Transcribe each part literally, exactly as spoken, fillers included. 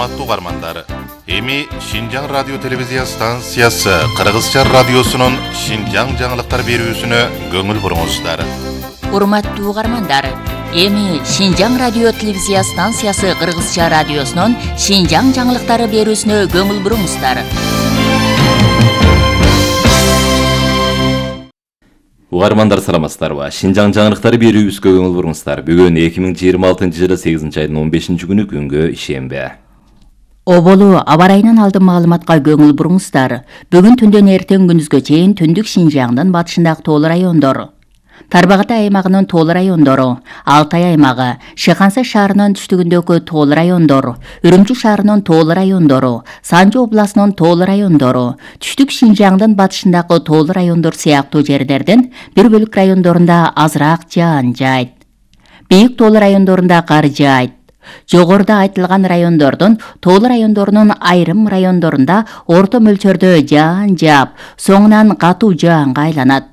Урматтуу угармандар, эми Шинжаң радио телевизия станциясы Кыргызча радиосунун Шинжаң жаңылыктар берүүсүнө көңүл буруңуздар. Урматтуу угармандар, эми Шинжаң радио телевизия станциясы Кыргызча радиосунун Шинжаң жаңылыктары берүүсүнө көңүл буруңуздар. Угармандар саламатсыздарбы? Шинжаң жаңылыктары берүүбүзгө көңүл буруңуздар. Бүгүн эки миң жыйырма алтынчы жылы сегизинчи айдын он бешинчи күнү күнгө ишембе. Оболу аба ырайынан алдын маалыматка көңүл буруңуздар. Бүгүн түндөн эртең күндүзгө чейин түндүк Шинжаңдын батышындагы тоол райондор, Тарбагатай аймагынын тоол райондору, Алтай аймагы, Шыханса шаарынын түштүгүндөгү тоол райондор, Үрүмчү шаарынын тоол райондору, Санжы областынын тоол райондору, түштүк Шинжаңдын батышындагы тоол райондор сыяктуу жерлердин бир бөлүк райондорунда азыраак жаан жайт. Бийик тоол райондорунда кар жайт. Жогоруда айтылган райондордун тоол райондорунун айрым райондорунда орто мөлчөрдө жаан жаап, соңунан катуу жаанга айланат.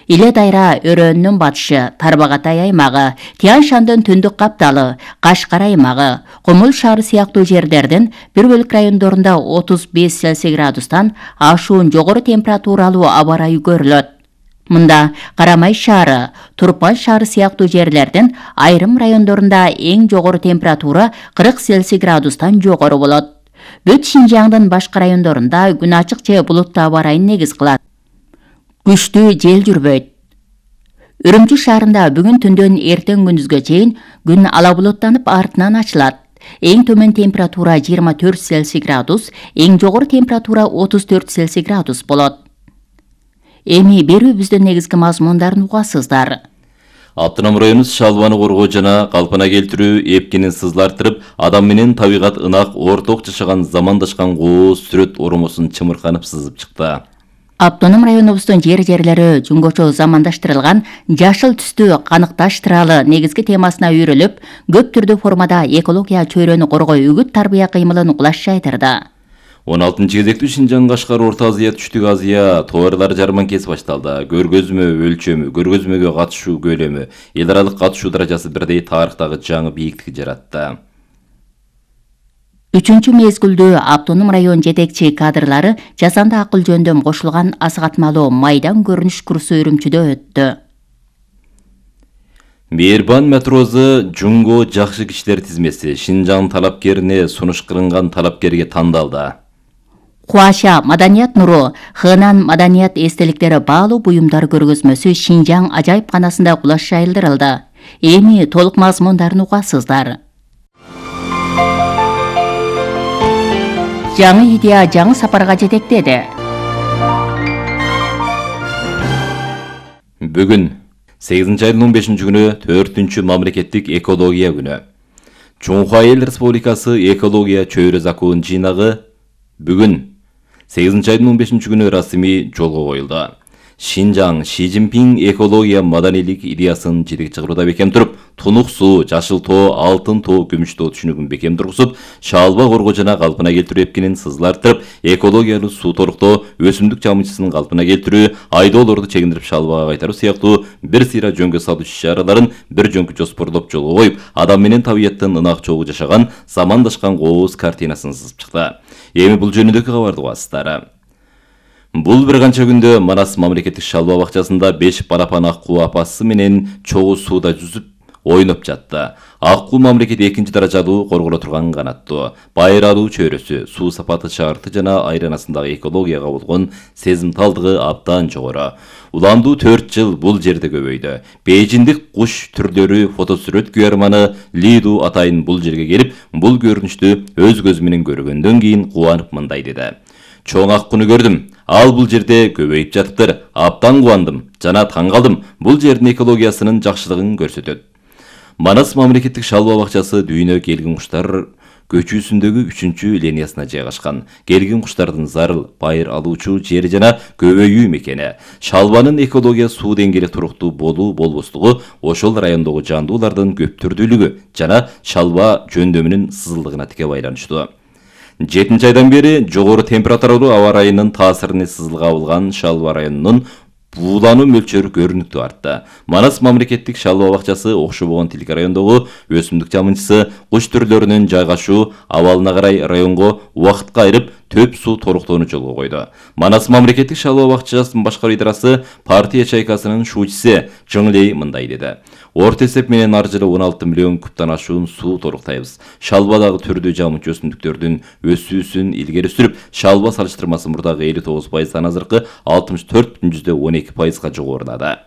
Иле Дайра өрөөнүнүн батышы, Тарбагатай аймагы, Тиян Шандын түндүк капталы, Кашкар аймагы, Комул шаары сыяктуу жерлердин бир бөлүк райондорунда отуз беш Цельсий градустан ашуун жогору температуралуу аба ырайы көрүлөт. Мында Карамай шаары, Турпан шаары сыяктуу жерлердин айрым райондорунда эң жогору температура кырк Цельсий градустан жогору болот. Бүт Шинжаңдын башка райондорунда күн ачык же булуттуу аба ырайын негиз кылат. Күчтүү жел жүрбөйт. Үрүмчү шаарында бүгүн түндөн эртең күндүзгө чейин күн ала булуттанып артынан ачылат. Эң төмөн температура жыйырма төрт Цельсий градус, эң жогору температура отуз төрт Цельсий градус болот. Эми берүүбүздүн негизги мазмундарын угасыздар. Автоном району шалбаны коргоо жана калпына келтирүү, эпкинин сызлартырып, адам менен табигат ынак орток жашаган замандашкан кооз сүрөт оромосун чымырканып сызып чыкты. Автоном районубуздун жер-жерлери жөнгөчө замандаштырылган жашыл түстүү каныкташтыралы негизги темасына үйрөлүп, көп түрдүү формада экология чөйрөнү коргоо үгүт тарбия кыймылын кулаш жайдырды. он алтынчы кезектүү Шинжаң Кашкар Орто Азия Түштүк Азия товарлар жарманкеси башталды. Көргөзмө өлчөмү, көргөзмөгө катышуу көлөмү, эл аралык катышуу даражасы бирдей тарыхтагы жаңы бийиктик жаратты. Үчүнчү мезгилдүү автоном район жетекчи кадрлары жасанды акыл жөндөм кошулган асыгатмалуу майдан көрүнүш курсу Үрүмчүдө өттү. Мээрбан матрозу Жунго жакшы кишилер тизмеси Шинжаң талапкерине сунуш кылынган талапкерге тандалды. Куаша маданият нуру, Хынан маданият эстеликтери баалуу буюмдар көргөзмөсү Шинжаң ажайыпканасында кулаш жайылдырылды. Эми толук мазмундарын угасыздар. Жаңы идея жаңы сапарга жетектеди. Бүгүн сегизинчи айдын он бешинчи күнү төртүнчү мамлекеттик экология күнү. Чоңху Айыл Республикасы экология чөйрө закон жыйнагы бүгүн сегизинчи айдын он бешинчи күнү расмий жолго коюлду. Шинжаң Ши Цзиньпин экология маданийлик идеясын жетекчи чыгарууда бекем туруп, тунук суу, жашыл тоо, алтын тоо, күмүш тоо түшүнүгүн бекем тургузуп, шалба коргоо жана калпына келтирүү эпкинин сызлартырып, экологиялуу суу торуктоо, өсүмдүк жамычысын калпына келтирүү, айдоолорду чегиндирип шалбага кайтаруу сыяктуу бир сыйра жөнгө салуу иш-чараларын бир жөнкү жоспорлоп жолго коюп, адам менен табияттын ынак чогуу жашаган, замандашкан кооз картинасын сызып чыкты. Эми бул жөнүндөгү кабарды угасыздар. Бул бир канча күндө Манас мамлекеттик шалба бакчасында беш балапан аккуу апасы менен чогуу сууда жүзүп ойноп жатты. Аккуу мамлекет экинчи даражалуу корголо турган канаттуу, байыралуу чөйрөсү, суу сапаты шарты жана айланасындагы экологияга болгон сезимталдыгы абдан жогору. Уландуу төрт жыл бул жерде көбөйдү. Бейжиндик куш түрлөрү фотосүрөт күйөрманы Лиду атайын бул жерге келип, бул көрүнүштү өз көзү менен көргөндөн кийин кубанып мындай деди. Чоң аккуну көрдүм. Ал бул жерде көбөйүп жатыптыр. Абдан кубандым жана таң калдым. Бул жердин экологиясынын жакшылыгын көрсөтөт. Манас мамлекеттик шалба бакчасы дүйнө келгин куштар көчүүсүндөгү үчүнчү линиясына жайгашкан. Келгин куштардын зарыл, байыр алуучу жери жана көбөйүү мекени. Шалбанын экология суу деңгээли туруктуу болуу болбостугу ошол райондогу жандуулардын көп түрдүүлүгү жана шалба жөндөмүнүн сызылдыгына тике байланыштуу. жетинчи айдан бери жогору температуралуу аба ырайынын таасирини сызылга алган Шалба районунун буулануу мөлчөрү көрүнүктүү артты. Манас мамлекеттик шалба бакчасы Окшобогон тилке райондогу өсүмдүк жамынчысы куш түрлөрүнүн жайгашуу абалына карай районго убакытка айырып төп суу торуктоону жолго койду. Манас мамлекеттик шалба бакчасынын башкаруу идарасы партия чайкасынын шуучусу Жыңлей мындай деди. Орто эсеп менен ар жылы он алты миллион кубтан ашуун суу торуктайбыз. Шалбадагы түрдүү жамынчы өсүмдүктөрдүн өсүүсүн илгери сүрүп, шалба салыштырмасы мурдагы элүү тогуз пайыздан азыркы алтымыш төрт бүтүн жүздөн он эки пайызга жогорулады.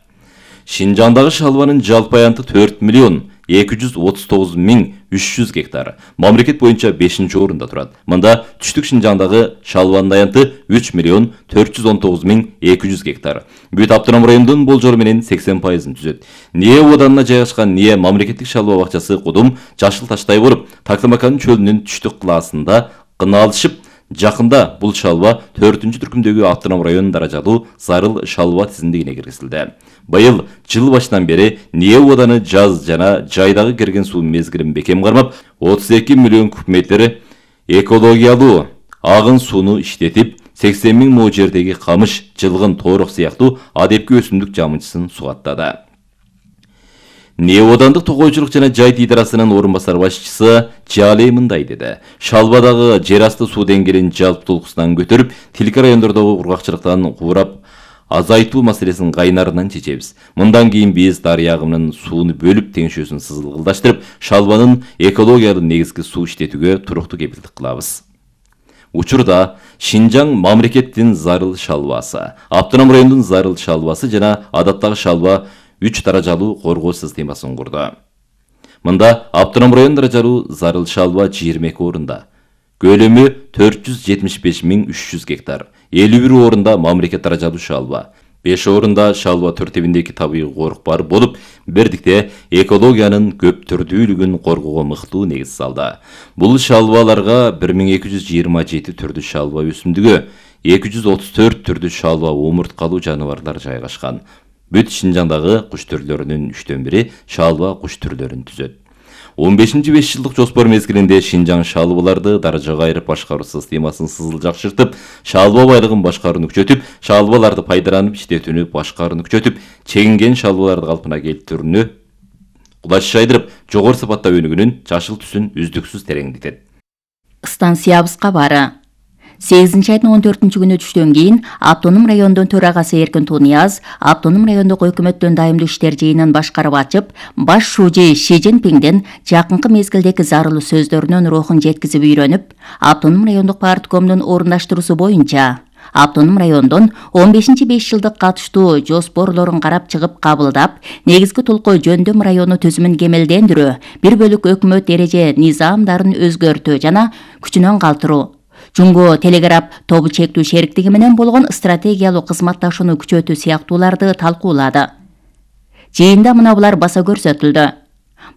Шинжаңдагы шалбанын жалпы аянты төрт миллион эки жүз отуз тогуз миң үч жүз гектар. Мамлекет боюнча бешинчи орунда турат. Мында түштүк Шинжаңдагы шалбанын аянты үч миллион төрт жүз он тогуз миң эки жүз гектар. Бүт автоном райондун болжолу менен сексен пайызын түзөт. Ние оданына жайгашкан Ние мамлекеттик шалба бакчасы Кудум Жашыл Таштай болуп, Таклымакан чөлүнүн түштүк классында кыналышып, жакында бул шалба төртүнчү түркүмдөгү автоном район даражалуу зарыл шалба тизимдигине киргизилди. Быйыл жыл башынан бери Ние оданы жаз жана жайдагы келген суу мезгилин бекем кармап, отуз эки миллион куб метр экологиялуу агын сууну иштетип, сексен миң мо жердеги камыш, жылгын, тоорок сыяктуу адепки өсүмдүк жамынчысын сугаттады. Ние одандык тогойчулук жана жайыт идарасынын орун басар башчысы Жалей мындай деди. Шалбадагы жер асты суу деңгээлин жалптуулуксунан көтөрүп, тилке райондордогу кургакчылыктан куурап азайтуу маселесин кайнарынан чечебиз. Мындан кийин биз дарыя агымынын сууну бөлүп, теңшөөсүн сызылгылдаштырып, шалбанын экологиялык негизги суу иштетүүгө туруктуу кепилдик кылабыз. Учурда Шинжаң мамлекеттин зарыл шалбасы, автоном райондун зарыл шалбасы жана адаттагы шалба үч даражалуу коргоо системасын курду. Мында автоном район даражалуу зарыл шалба жыйырма эки орунда. Көлөмү төрт жүз жетимиш беш миң үч жүз гектар. элүү бир орунда мамлекет даражалуу шалба. беш орунда шалба төртебиндеги табигый корук бар болуп, бирдикте экологиянын көп түрдүүлүгүн коргоого мыктуу негиз салды. Бул шалбаларга бир миң эки жүз жыйырма жети түрдүү шалба өсүмдүгү, эки жүз отуз төрт түрдүү шалба омурткалуу жаныбарлар жайгашкан. Бүт Шинжаңдагы куш түрлөрүнүн үчтөн бири шалба куш түрлөрүн түзөт. он бешинчи беш жылдык жоспор мезгилинде Шинжаң шалбаларды даражага айырып башкаруу системасын сызыл жакшыртып, шалба байлыгын башкарууну күчөтүп, шалбаларды пайдаланып иштетүүнү башкарууну күчөтүп, чегинген шалбаларды калпына келтирүүнү кулач жайдырып, жогору сапатта өнүгүүнүн жашыл түсүн үздүксүз тереңдетет. Станциябызга бары. сегизинчи айдын он төртүнчү күнү түштөн кийин автоном райондун төрагасы Эркин Тунияз автоном райондук өкмөттүн дайымдуу иштер жыйынын башкарып ачып, баш шужи Ши Цзиньпиңдин жакынкы мезгилдеги зарыл сөздөрүнүн рухун жеткизип үйрөнүп, автоном райондук парткомдун орундаштыруусу боюнча автоном райондун он бешинчи беш жылдык катыштуу жоспорлорун карап чыгып кабылдап, негизги толкоо жөндөм району түзүмүн кемелдендирүү, бир бөлүк өкмөт эреже низамдарын өзгөртүү жана күчүнөн калтыруу, Жунго телеграф тобу чектүү шериктиги менен болгон стратегиялык кызматташууну күчөтүү сыяктууларды талкуулады. Жыйында мына булар баса көрсөтүлдү.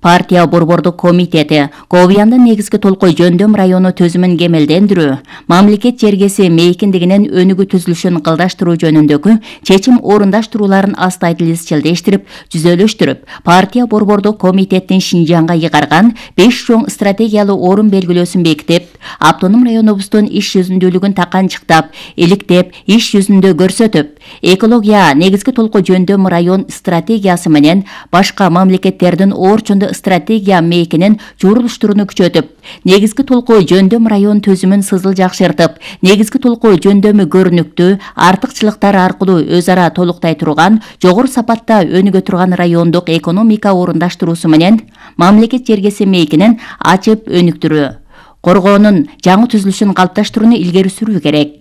Партия борбордук комитети Ковияндын негизги толкой жөндөм району төзүмүн кемелдендирүү, мамлекет жергеси мейкиндигинин өнүгүү түзүлүшүн кылдаштыруу жөнүндөгү чечим орундаштырууларын астайдыл изчилдештирип, жүзөлөштүрүп, партия борбордук комитеттин Шинжаңга ыйгарган беш чоң стратегиялык орун белгилөөсүн бекитип, автоном районубуздун иш жүзүндүүлүгүн таканчыктап, иликтеп, иш жүзүндө көрсөтүп, экология негизги толкой жөндөм район стратегиясы менен башка мамлекеттердин орчундо стратегия мейкинин журулуштуруну күчөтүп, негизги толкоо жөндөм район төзүмүн сызыл жакшыртып, негизги толкоо жөндөмү көрүнүктүү, артыкчылыктар аркылуу өз ара толуктай турган, жогору сапатта өнүгө турган райондук экономика орундаштыруусу менен мамлекет жергеси мейкинин ачып өнүктүрүү, коргоонун жаңы түзүлүшүн калыпташтырууну илгери сүрүү керек.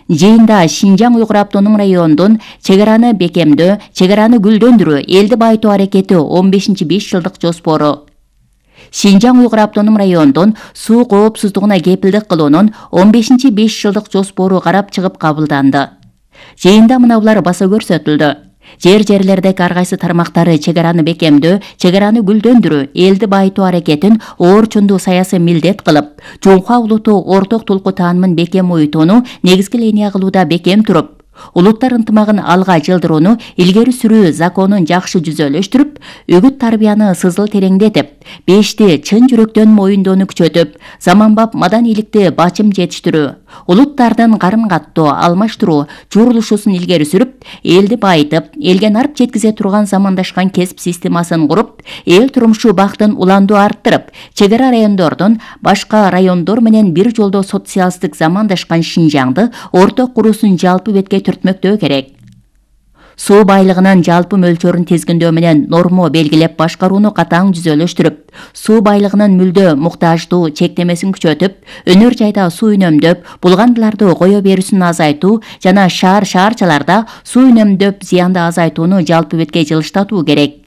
Жыйында Шинжаң Уйгур автоном районунун чек араны бекемдөө, чек араны гүлдөндүрүү, элди байытуу аракети он бешинчи беш жылдык жоспору, Шинжаң Уйгур автоном районунун суу коопсуздугуна кепилдик кылуунун он бешинчи беш жылдык жоспору карап чыгып кабылданды. Жыйында мына булар баса көрсөтүлдү. Жер-жерлердеги ар кайсы тармактары чек араны бекемдөө, чек араны гүлдөндүрүү, элди байытуу аракетин орчундуу саясий милдет кылып, Жоңхуа улуту орток толку таанымын бекем уютууну негизги линия кылууда бекем туруп, улуттар ынтымагын алга жылдырууну илгери сүрүү законун жакшы жүзөлөштүрүп, үгүт тарбияны сызыл тереңдетип, бешти чын жүрөктөн моюндоону күчөтүп, заманбап маданиликти бачым жетиштирүү, улуттардын карым-каттоо, алмаштыруу журулушусун илгери сүрүп, элди байытып, элге нарп жеткизе турган замандашкан кесип системасын куруп, эл турмушу бактын уландуу арттырып, чек ара райондордун башка райондор менен бир жолдо социалисттик замандашкан Шинжаңды орток куруусун жалпы бетке түртмөктөө керек. Суу байлыгынын жалпы мөлчөрүн тизгиндөө менен норма белгилеп башкарууну катаң жүзөлөштүрүп, суу байлыгынын мүлдө муктаждуу чектемесин күчөтүп, өнөр жайда суу үнөмдөп, булгандыларды кое берүүсүн азайтуу жана шаар-шаарчаларда суу үнөмдөп зыянды азайтууну жалпы бетке жылыштатуу керек.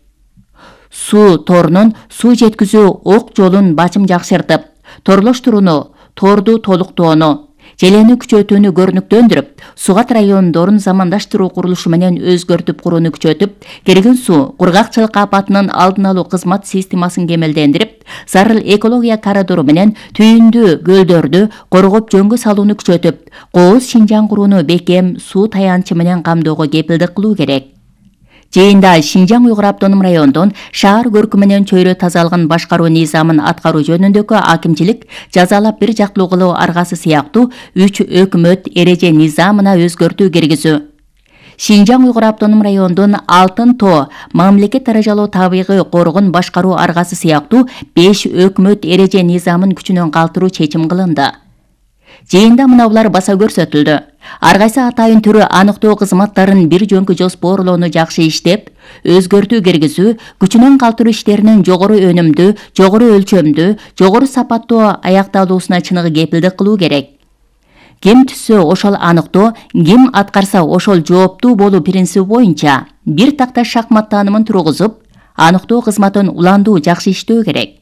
Суу торунун суу жеткизүү ок жолун бачым жакшыртып, торлоштурууну, торду толуктоону, желени күчөтүүнү көрүнүктөндүрүп, сугат райондорун замандаштыруу курулушу менен өзгөртүп курууну күчөтүп, келген суу, кургакчылык апатынын алдын алуу кызмат системасын кемелдендирип, зарыл экология коридору менен түйүндүү көлдөрдү коргоп жөнгө салууну күчөтүп, кооз Шинжаң курууну бекем суу таянчы менен камдоого кепилдик кылуу керек. Жыйында Шинжаң Уйгур автоном райондон шаар көркү менен чөйрө тазалыгын башкаруу низамын аткаруу жөнүндөгү акимчилик жазалап бир жактылуу кылуу аргасы сыяктуу үч өкмөт эреже низамына өзгөртүү киргизүү. Шинжаң Уйгур автоном райондун Алтын тоо мамлекет даражалуу табигый коргон башкаруу аргасы сыяктуу беш өкмөт эреже низамын күчүнөн калтыруу чечим кылынды. Жыйында мынаулар баса көрсөтүлдү. Ар кайсы атайын түрү аныктоо кызматтарын бир жөнкү жоспорлоону жакшы иштеп, өзгөртүү киргизүү, күчүнөн калтыруу иштеринин жогору өнүмдүү, жогору өлчөмдүү, жогору сапаттуу аякталуусуна чыныгы кепилдик кылуу керек. Ким түссө ошол аныктоо, ким аткарса ошол жооптуу болуу принциби боюнча бир такта шахмат таанымын тургузуп, аныктоо кызматын уландуу жакшы иштөө керек.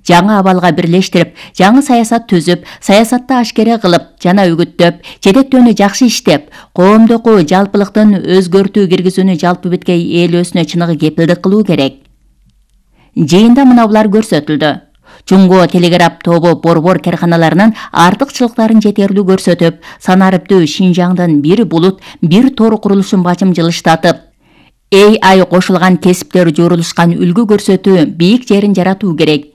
Жаңы абалга бирлештирип, жаңы саясат түзүп, саясатты ашкере кылып жана үгүттөп, жетектөөнү жакшы иштеп, коомдуку жалпылыктын өзгөртүү киргизүүнү жалпы бетке ээлөөсүнө чыныгы кепилдик кылуу керек. Жыйында мынаулар көрсөтүлдү. Жунго телеграф тобу борбор карканаларынын артыкчылыктарын жетерлүү көрсөтүп, санариптүү Шинжаңдын бир булут, бир тор курулушун бачым жылыштатып, эй ай кошулган кесиптер журулушкан үлгү көрсөтүү бийик жерин жаратуу керек.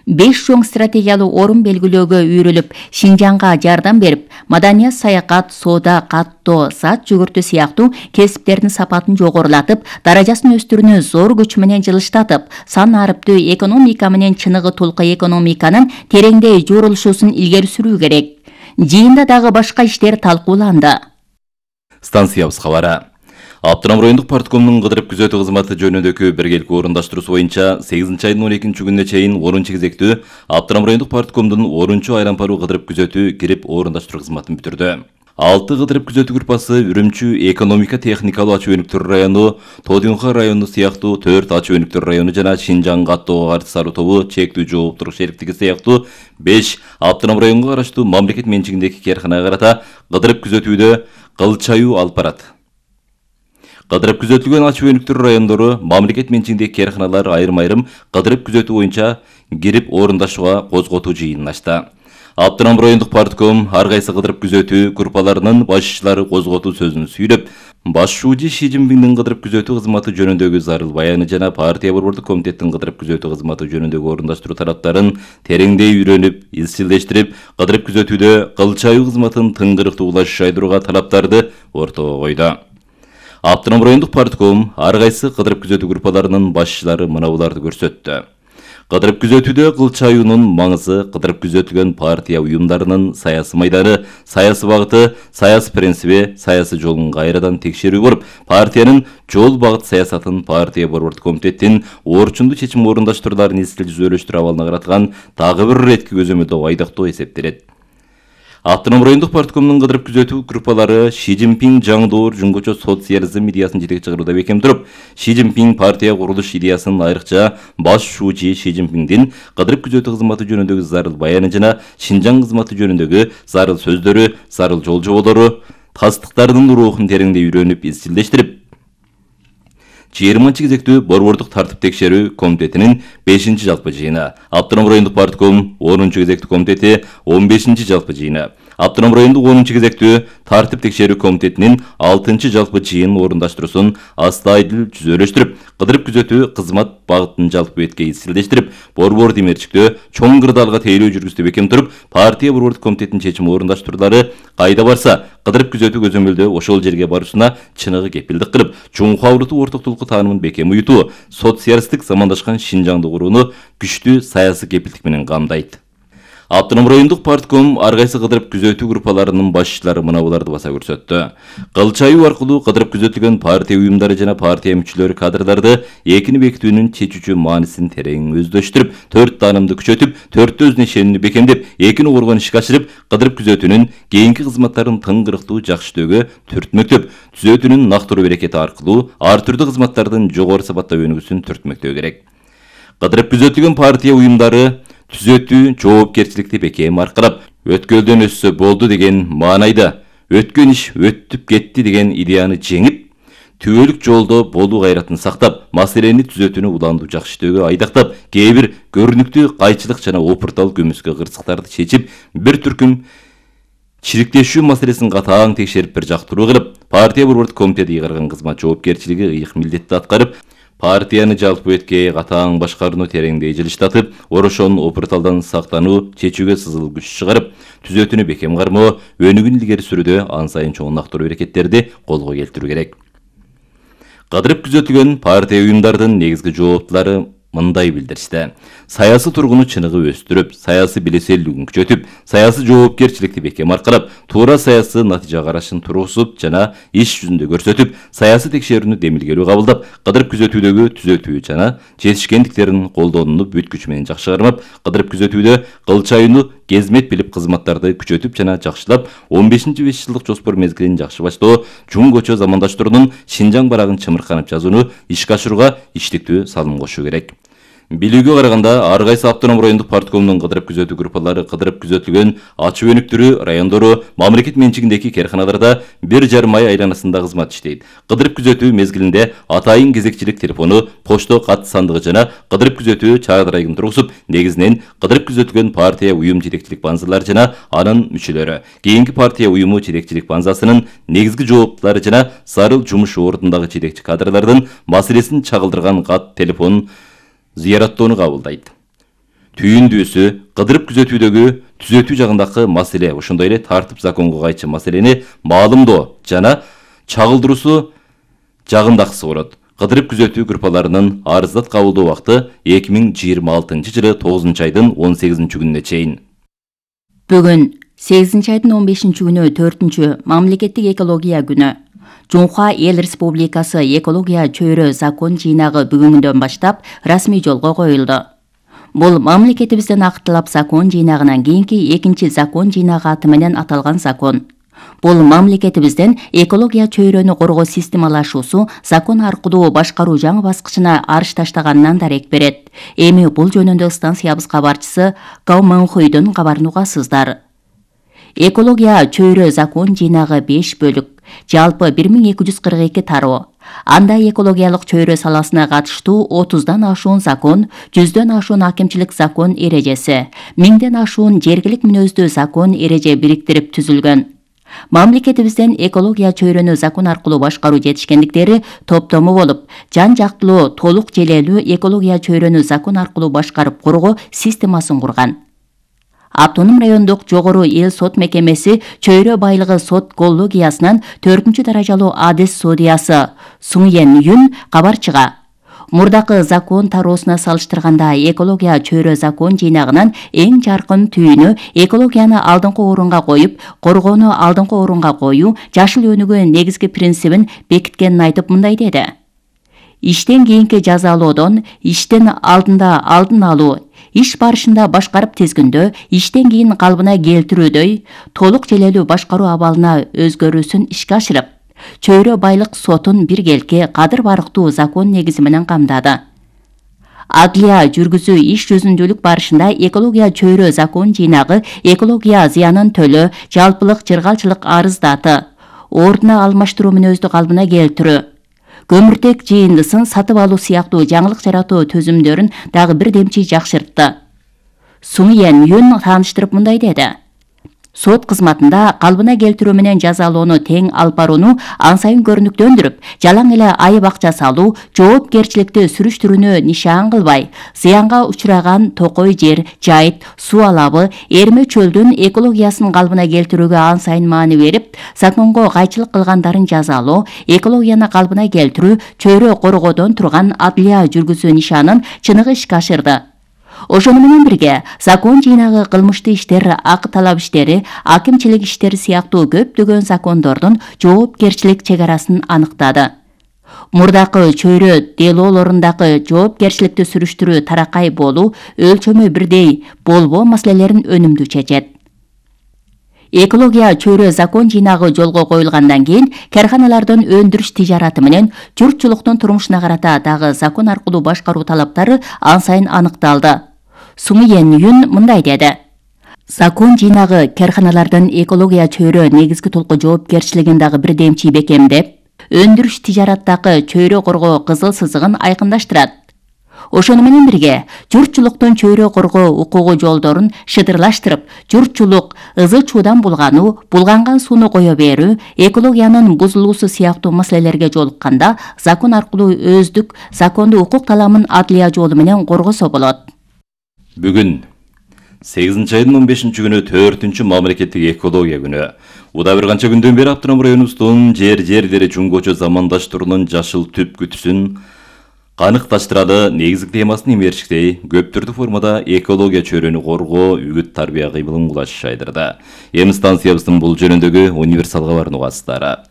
Беш чоң стратегиялуу орун белгилөөгө үйрүлүп, Шинжаңга жардам берип, маданият, саякат, соода, каттоо, зат жүгүртүү сыяктуу кесиптердин сапатын жогорулатып, даражасын өстүрүүнү зор күч менен жылыштатып, сан арыптуу экономика менен чыныгы толку экономиканын тереңдей журулушусун илгери сүрүү керек. Жыйында дагы башка иштер талкууланды. Станциябыз кабары. Аптырам райондук парткомдун кыдырып күзөтүү кызматы жөнүндөгү биргелик орундаштыруусу боюнча сегизинчи айдын он экинчи күнүнө чейин орунчу кезектүү Аптырам райондук парткомдун орунчу айлампаруу кыдырып күзөтүү кирип орундаштыруу кызматын бүтүрдү. Алты кыдырып күзөтүү группасы Үрүмчү экономика техникалуу ачуу өнүктүрүү району, Тодюнха району сыяктуу төрт ачуу өнүктүрүү району жана Шинжаң каттоого каршы саруу тобу чектүү жооптуулук шериктиги сыяктуу беш Аптырам районуна караштуу мамлекет менчигиндеги кээрканага карата кыдырып күзөтүүдө кыл чаюу алып барат. Кыдырып күзөтүлгөн ачуу өнүктүрүү райондору мамлекет менчигиндеги кээрканалар айрым-айрым кыдырып күзөтүү боюнча кирип орундашууга козготуу жыйынын ачты. Аптырам райондук партком ар кайсы кыдырып күзөтүү группаларынын башчылары козготуу сөзүн сүйлөп, башчуучу Ши Цзиньпиндин кыдырып күзөтүү кызматы жөнүндөгү зарыл баяны жана партия борбордук комитеттин кыдырып күзөтүү кызматы жөнүндөгү орундаштыруу тараптарын тереңдей үйрөнүп, изчилдештирип, кыдырып күзөтүүдө кыл чаюу кызматын тыңгырыктуулаш жайдырууга талаптарды ортого койду. Аптырам райондук партком ар кайсы кыдырып күзөтүү группаларынын башчылары мынауларды көрсөттү. Кыдырып күзөтүүдө кыл чаюунун маңызы, кыдырып күзөтүлгөн партия уюмдарынын саясий майданы, саясий багыты, саясий принциби, саясий жолун кайрадан текшерүү болуп, партиянын жол багыт саясатын партия борбордук комитеттин орчундуу чечим орундаштырууларын изчил жүзөлөштүрүү абалына караткан дагы бир иретки көзөмөлдөө айдактоо эсептелет. Аптырам райондук парткомдун кыдырып күзөтүү группалары Ши Цзиньпин жаңдоор жөнгөчө социализм идеясын жетекчи кылууда бекем туруп, Ши Цзиньпин партия курулуш идеясын айрыкча башчуучу Ши Цзиньпиндин кыдырып күзөтүү кызматы жөнүндөгү зарыл баяны жана Шинжаң кызматы жөнүндөгү зарыл сөздөрү, зарыл жол жоболору, тастыктардын рухун тереңдей үйрөнүп, изчилдештирип, жыйырманчы кезектүү борбордук тартып текшерүү комитетинин бешинчи жалпы жыйыны, Аптырам райондук партком онунчу кезектүү комитети он бешинчи жалпы жыйыны, Автоном райондук онунчу кезектүү тартип текшерүү комитетинин алтынчы жалпы жыйынын орундаштыруусун астайдыл жүзөлөштүрүп, кыдырып күзөтүү кызмат багытын жалпы бетке изилдештирип, борбор демерчиктөө чоң кырдаалга тейлөө жүргүздү бекем туруп, партия борбордук комитетинин чечими орундаштыруулары кайда барса, кыдырып күзөтүү көзөмөлдөө ошол жерге баруусуна чыныгы кепилдик кылып, чуңку авыртуу ортоктулукку таанымын бекем уютуу, социалисттик замандашкан Шинжаңды курууну күчтүү саясий кепилдик менен камдайт. Автоном райондук партком ар кайсы кыдырып күзөтүү группаларынын башчылары мына буларды баса көрсөттү. Кылчайуу аркылуу кыдырып күзөтүлгөн партия уюмдары жана партия мүчөлөрү кадрларды экини бекитүүнүн чечүүчү маанисин терең өздөштүрүп, төрт таанымды күчөтүп, төрттө өзүнө ишенүүнү бекемдеп, экини коргон ишке ашырып, кыдырып күзөтүүнүн кийинки кызматтарын тыңгырыктуу жакшытөөгө түртмөктөп, түзөтүүнүн нактыруу берекети аркылуу ар түрдүү кызматтардын жогору сапаттуу өнүгүүсүн түртмөктөө керек. Кыдырып күзөтүлгөн партия уюмдары түзөтүү жоопкерчиликти бекем аркырап, өткөлдөн өссө болду деген маанайда, өткөн иш өттүп кетти деген идеяны жеңип, түбөлүк жолдо болуу кайратын сактап, маселени түзөтүүнү уландуу жакшытөөгө айдактап, кээ бир көрүнүктүү кайчылык жана опуртал көмүскө кырсыктарды чечип, бир түркүм чириктешүү маселесин катаң текшерип бир жактыруу кылып, партия борбордук комитети ыйгарган кызмат жоопкерчилиги ыйык милдетти аткарып, партияны жалпы бетке катаң башкарууну тереңдей жылыштатып, орошонун опурталдан сактануу, чечүүгө сызыл күч чыгарып, түзөтүүнү бекем кармоо, өнүгүүнү илгери сүрүүдө ан сайын чоң нактыруу аракеттерди колго келтирүү керек. Кыдырып күзөтүлгөн партия уюмдардын негизги жооптулары мындай билдиришти. Саясий тургуну чыныгы өстүрүп, саясий билеселүүлүгүн күчөтүп, саясий жоопкерчиликти бекем аркарап, туура саясий натыйжа карашын тургузуп жана иш жүзүндө көрсөтүп, саясий текшерүүнү демилгелүү кабылдап, кыдырып күзөтүүдөгү түзөтүү жана жетишкендиктерин колдонууну бүт күч менен жакшы кармап, кыдырып күзөтүүдө кылчайууну кезмет билип кызматтарды күчөтүп жана жакшылап, он бешинчи беш жылдык жоспор мезгилин жакшы баштоо, чуң көчө замандаштыруунун Шинжаң барагын чымырканып жазууну ишке ашырууга иштиктүү салым кошуу керек. Билүүгө караганда, ар кайсы автоном райондук парткомдун кыдырып күзөтүү группалары кыдырып күзөтүлгөн ачуу өнүктүрүү райондору, мамлекет менчигиндеги керканаларда бир жарым ай айланасында кызмат иштейт. Кыдырып күзөтүү мезгилинде атайын кезекчилик телефону, почто кат сандыгы жана кыдырып күзөтүү чардарайын тургузуп, негизинен кыдырып күзөтүлгөн партия уюм жетекчилик банзалары жана анын мүчөлөрү, кийинки партия уюму жетекчилик банзасынын негизги жооптулары жана зарыл жумуш ордундагы жетекчи кадрлардын маселесин чагылдырган кат, телефон зыяраттоону кабылдайт. Түйүндүүсү, кыдырып күзөтүүдөгү түзөтүү жагындагы маселе, ошондой эле тартип законго кайчы маселени маалымдоо жана чагылдыруусу жагындагысы болот. Кыдырып күзөтүү группаларынын арыздат кабылдоо убакыты эки миң жыйырма алтынчы жылы тогузунчу айдын он сегизинчи күнүнө чейин. Бүгүн сегизинчи айдын он бешинчи күнү төртүнчү мамлекеттик экология күнү. Жунхва Эл Республикасы экология чөйрө закон жыйнагы бүгүнгүндөн баштап расмий жолго коюлду. Бул мамлекетибиздин актылап закон жыйнагынан кийинки экинчи закон жыйнагы аты менен аталган закон. Бул мамлекетибиздин экология чөйрөнү коргоо системалашуусу закон аркылуу башкаруу жаңы баскычына арыш таштаганынан дарек берет. Эми бул жөнүндө станциябыз кабарчысы Гау Манхуйдун кабарын угасыздар. Экология чөйрө закон жыйнагы беш бөлүк, жалпы бир миң эки жүз кырк эки тароо. Анда экологиялык чөйрө саласына катыштуу отуздан ашуун закон, жүздөн ашуун акимчилик закон эрежеси, миңден ашуун жергилик мүнөздүү закон эреже бириктирип түзүлгөн. Мамлекетибизден экология чөйрөнү закон аркылуу башкаруу жетишкендиктери топтому болуп, жан жактылуу, толук желелүү экология чөйрөнү закон аркылуу башкарып коргоо системасын курган. Автоном райондук жогору эл сот мекемеси чөйрө байлыгы сот коллегиясынан төртүнчү даражалуу адис судьясы Суңьен Юн кабарчыга мурдакы закон тароосуна салыштырганда экология чөйрө закон жыйнагынан эң жаркын түйүнү экологияны алдыңкы орунга коюп, коргоону алдыңкы орунга коюу жашыл өнүгүү негизги принцибин бекиткенин айтып мындай деди. Иштен кийинки жазалоодон, иштен алдында алдын алуу, иш барышында башкарып тизгиндөө, иштен кийин калыбына келтирүүдөй толук желелүү башкаруу абалына өзгөрүүсүн ишке ашырып, чөйрө байлык сотун биргелки кадыр барктуу закон негизи менен камдады. Адлия жүргүзүү иш жүзүндүүлүк барышында экология чөйрө закон жыйнагы экология зыянын төлөө, жалпылык жыргалчылык арыздаты, ордуна алмаштыруу мүнөздү калыбына келтирүү, көмүртек жыйындысын сатып алуу сыяктуу жаңылык жаратуу төзүмдөрүн дагы бир демчи жакшыртты. Суңьен Юн тааныштырып мындай деди. Сот кызматында калбына келтирүү менен жазалоону тең алып барууну ан сайын көрүнүктөндүрүп, жалаң эле айып акча салуу, жоопкерчиликти сүрүштүрүүнү нишан кылбай, зыянга учураган токой жер, жайыт, суу алабы, эрме чөлдүн экологиясын калбына келтирүүгө ан сайын маани берип, законго кайчылык кылгандарын жазалоо, экологияны калбына келтирүү, чөйрө коргоодон турган адлия жүргүзүү нишанын чыныгы ишке ашырды. Ошону менен бирге закон жыйнагы кылмыштуу иштер, акы талап иштери, акимчилик иштери сыяктуу көптөгөн закондордун жоопкерчилик чек арасын аныктады. Мурдакы чөйрө делоолорундагы жоопкерчиликти сүрүштүрүү таракай болуу, өлчөмү бирдей болбоо маселелерин өнүмдүү чечет. Экология чөйрө закон жыйнагы жолго коюлгандан кийин карханалардын өндүрүш тижараты менен журтчулуктун турмушуна карата дагы закон аркылуу башкаруу талаптары ан сайын аныкталды. Сумиен Юн мындай деди: Закон жыйнагы карханалардын экология чөйрө негизги толку жоопкерчилигин дагы бирдемчи бекемдеп, өндүрүш тижараттагы чөйрө коргоо кызыл сызыгын айкындаштырат. Ошону менен бирге журтчулуктун чөйрө коргоо укугу жолдорун шыдырлаштырып, журтчулук ызы чуудан булгануу, булганган сууну кое берүү, экологиянын бузулуусу сыяктуу маселелерге жолукканда закон аркылуу өздүк закондуу укук таламын адлия жолу менен коргосо болот. Бүгүн сегизинчи айдын он бешинчи күнү төртүнчү мамлекеттик экология күнү. Уда бир канча күндөн бери Автоном районубуздун жер жерлери жумгочу замандаштыруунун жашыл түп күтүсүн каныкташтырады негизги темасын эмерчиктей көп түрдүү формада экология чөйрөнү коргоо, үгүт тарбия кыймылын кулаш шайдырды. Эми станциябыздын бул жөнүндөгү универсал кабарын угасыздар.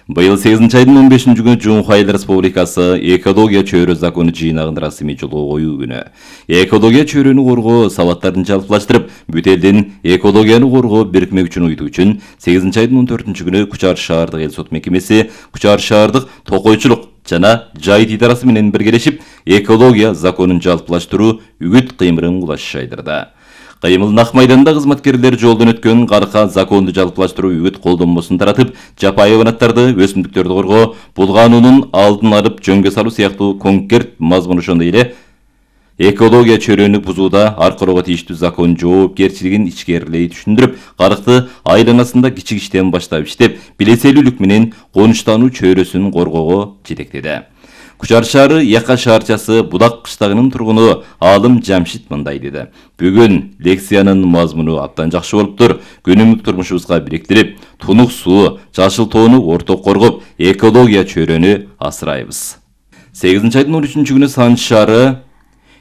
Быйыл сегизинчи айдын он бешинчи күнү Чуңхай Эл Республикасы экология чөйрө закону жыйнагын расмий жолго коюу күнү. Экология чөйрөнү коргоо сабаттарын жалпылаштырып, бүт элдин экологияны коргоо бирикме күчүн уютуу үчүн сегизинчи айдын он төртүнчү күнү Кучар шаардык эл сот мекемеси, Кучар шаардык токойчулук жана жайыт идарасы менен биргелешип, экология законун жалпылаштыруу үгүт кыймылын кулаш шайдырды. Кыймыл Нак майданында кызматкерлер жолдон өткөн карка законду жалпылаштыруу үгүт колдонмосун таратып, жапайы hayvanаттарды, өсүмдүктөрдү коргоо, булгануунун алдын алып жөнгө салуу сыяктуу конкрет мазмун ошондой эле экология чөйрөнү бузууда аркылуу тийиштүү закон жоопкерчилигин ичкерилей түшүндүрүп, карыкты айланасында кичик иштен баштап иштеп, билеселүүлүк менен конуштануу чөйрөсүн коргоого жетектеди. Кучар шаары Яка шаарчасы Будак кыштагынын тургуну Алым Жамшит мындай деди: Бүгүн лекциянын мазмуну абдан жакшы болуптур. Күнүмдүк турмушубузга бириктирип, тунук суу, жашыл тоону орток коргоп, экология чөйрөнү асырайбыз. сегизинчи айдын он үчүнчү күнү Санч шаары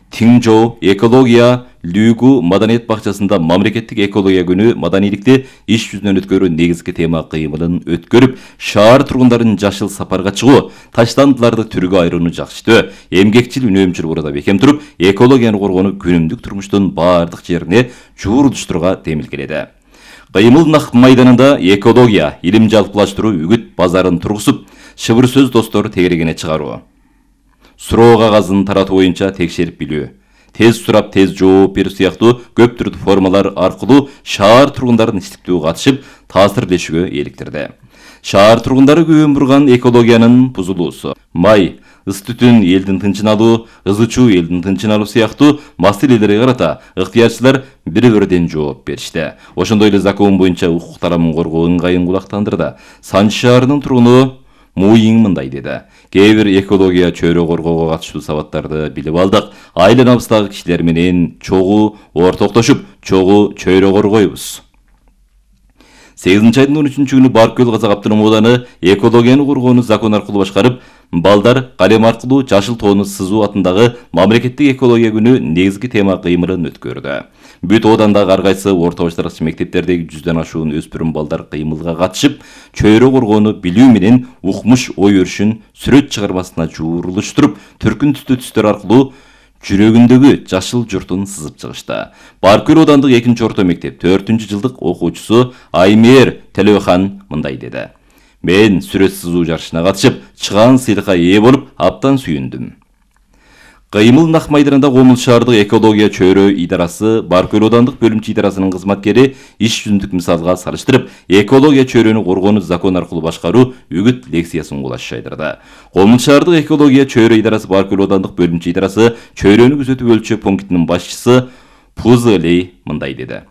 Тиңжоу экология Лүгү маданият бакчасында мамлекеттик экология күнү маданийликти иш жүзүнөн өткөрүү негизги тема кыймылын өткөрүп, шаар тургундарын жашыл сапарга чыгуу, таштандыларды түргө айырууну жакшыртуу, эмгекчил үнөмчүл урада бекем туруп, экологияны коргоону күнүмдүк турмуштун баардык жерине жуурулуштурууга демилгеледи. Кыймыл Нак майданында экология, илим жалпылаштыруу үгүт базарын тургузуп, шыбыр сөз достору тегерегине чыгаруу, суроо кагазын таратуу боюнча текшерип билүү, тез сурап тез жооп берүү сыяктуу көп түрдүү формалар аркылуу шаар тургундарын иштиктүү катышып, таасирлешүүгө эликтирди. Шаар тургундары күбөн бурган экологиянын бузулуусу, май, ыс түтүн элдин тынчын алуу, ызы чуу элдин тынчын алуу сыяктуу маселелерге карата ыктыярчылар бири-бирден жооп беришти. Ошондой эле закон боюнча укук тарамын коргоо ыңгайын кулактандырды. Санч шаарынын тургуну Муйиң мындай деди: Кээ бир экология чөйрө коргоого катыштуу сабаттарды билип алдык. Айланабыздагы кишилер менен чогуу ортоктошуп, чогуу чөйрө коргойбуз. сегизинчи айдын он үчүнчү күнү Баркөл Казак автономдук ауданы экологияны коргоону закон аркылуу башкарып, балдар калем аркылуу жашыл тоону сызуу атындагы мамлекеттик экология күнү негизги тема кыймылын өткөрдү. Бүт оодандагы ар кайсы орто баштаргыч мектептердеги жүздөн ашуун өспүрүм балдар кыймылга катышып, чөйрө коргоону билүү менен укмуш ой өрүшүн сүрөт чыгармасына жуурулуштуруп, түркүн түстүү түстөр аркылуу жүрөгүндөгү жашыл журтун сызып чыгышты. Баркөл оодандык экинчи орто мектеп төртүнчү жылдык окуучусу Аймер Телехан мындай деди: Мен сүрөт сызуу жарышына катышып, чыгаан сыйлыкка ээ болуп, абдан сүйүндүм. Кыймыл Нак майданында Комул шаардык экология чөйрө идарасы Баркөл оодандык бөлүмчө идарасынын кызматкери иш жүзүндүк мисалга салыштырып, экология чөйрөнү коргоону закон аркылуу башкаруу үгүт лекциясын кулаш шайдырды. Комул шаардык экология чөйрө идарасы Баркөл оодандык бөлүмчө идарасы чөйрөнү күзөтүү өлчөө пунктунун башчысы Пузылей мындай деди: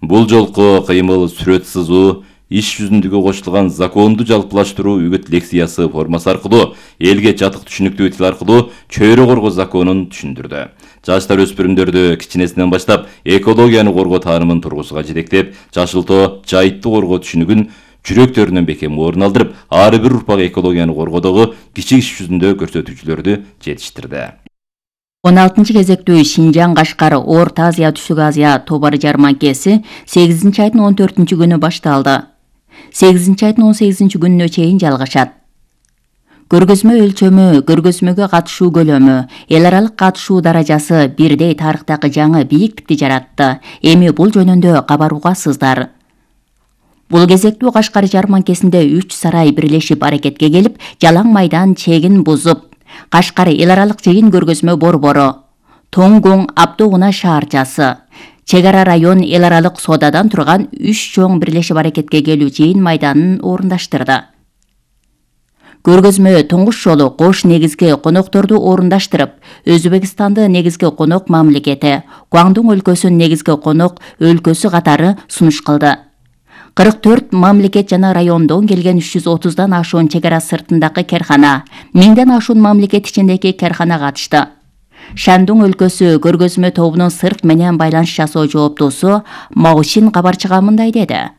Бул жолку кыймыл сүрөт сызуу иш жүзүндөгү кошулган законду жалпылаштыруу үгүт лекциясы формасы аркылуу элге жатык түшүнүктүү тил аркылуу чөйрө коргоо законун түшүндүрдү. Жаштар өспүрүмдөрдү кичинесинен баштап экологияны коргоо таанымын тургусуга жетектеп, жашылтоо, жайытты коргоо түшүнүгүн жүрөктөрүнөн бекем орун алдырып, ар бир урпак экологияны коргоодогу кичи иш жүзүндө көрсөтүүчүлөрдү жетиштирди. он алтынчы кезектүү Шинжаң Кашкар Орто Азия Түштүк Азия тобары жарманкеси сегизинчи айдын он төртүнчү күнү башталды. сегизинчи айдын он сегизинчи күнүнө чейин жалгашат. Көргөзмө өлчөмү, көргөзмөгө катышуу көлөмү, эл аралык катышуу даражасы бирдей тарыхтагы жаңы бийиктикти жаратты. Эми бул жөнүндө кабар угасыздар. Бул кезектүү Кашкар жарманкесинде үч сарай бирлешип аракетке келип, жалаң майдан чегин бузуп, Кашкар эл аралык жыйын көргөзмө борбору, Тоңгоң Абдогуна шаарчасы, Чек ара район эл аралык соодадан турган үч чоң бирлешип аракетке келүү жыйын майданын орундаштырды. Көргөзмө туңгуш жолу кош негизги конокторду орундаштырып, Өзбекстанды негизги конок мамлекети, Гуандун өлкөсүн негизги конок өлкөсү катары сунуш кылды. кырк төрт мамлекет жана райондон келген үч жүз отуздан ашуун чек ара сыртындагы керкана, миңден ашуун мамлекет ичиндеги керкана катышты. Шандун өлкөсү көргөзмө тобунун сырт менен байланыш жасоо жооптуусу Маушин кабарчыга мындай деди.